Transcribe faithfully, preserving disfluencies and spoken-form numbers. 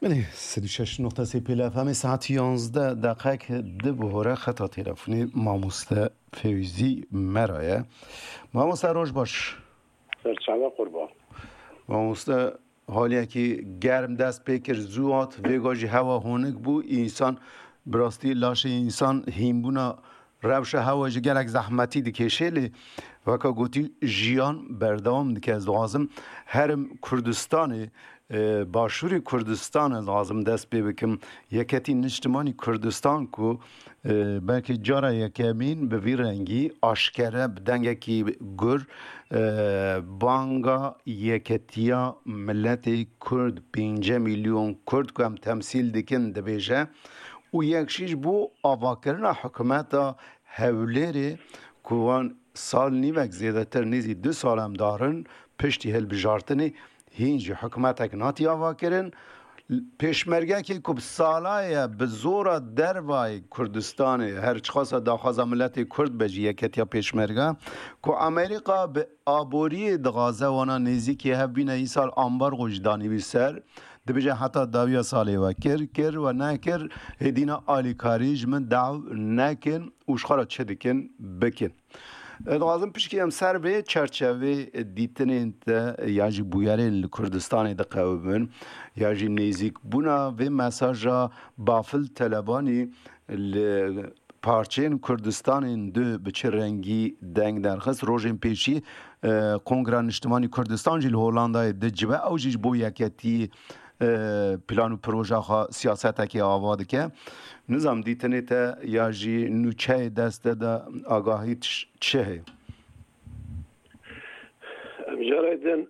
Belê, sed û şeş nokta sê Pêl F M'ê saet yanzdeh deqek di bihore xeta telefonê mamoste Fewzî Mera ye. Mamoste roj baş. Serçava qurban. Mamoste, haliyekî germ dest pê kir, zû hat, vêga jî hewa honik bû. Însan, bi rastî laşê însan hînbûna rewşa hewa jî gelek zehmetî dikêşê, lê weka gotî jiyan berdewam dike. Ez dixwazim herim Kurdistanê, e, başûrê Kurdistan ez dixwazim dest pê bikim. Yeketî Niştimanî Kurdistan ku, e, belkî cara yekemîn bi vî rengî aşkere bi dengekî gur, e, banga yeketiya miletê Kurd, pênce milyon Kurd ku em temsîl dikin dibêje û yek jî ji bo avakirina hikûmeta Hewlêrê ku wan sal nîvek zêdetir nêzî du sal em darin piştî hilbijartinê, hîn jî hikûmetek natiye avakirin. Pêşmergekê ku bi sala ye bi zora dervayê Kurdistanê, her çiqasa daxwaza miletê Kurd be jî yeketiya pêşmerge, ku Amerîka bi aboriyê dixwaze wana nêzîkî hev bîne, îsal ambargo jî danî wî ser. Dibêje heta dawiya salê we kir, kir we nekir, hêdîna alîkarî ji min daw nekin û ji xwe re çi dikin, bikin. Ez dixwazim pişkî em ser vê çerçevê dîtinên te ya jî bûyerên li Kurdistanê diqewimin, ya jî nêzîkbûna vê mesaja Bafil Telebanî li parçeyên Kurdistanên du bi çi rengî deng derxist. Rojên pêşî, e, Kongra Niştimanî Kurdistan jî li Hollandayê dicive. Ew jî ji bo yeketî, e, plan û proja xwe siyasetekê ava dike. Nizam dîtinê te ya jî nûçeyê dest te de agahî çi heye? Em cara din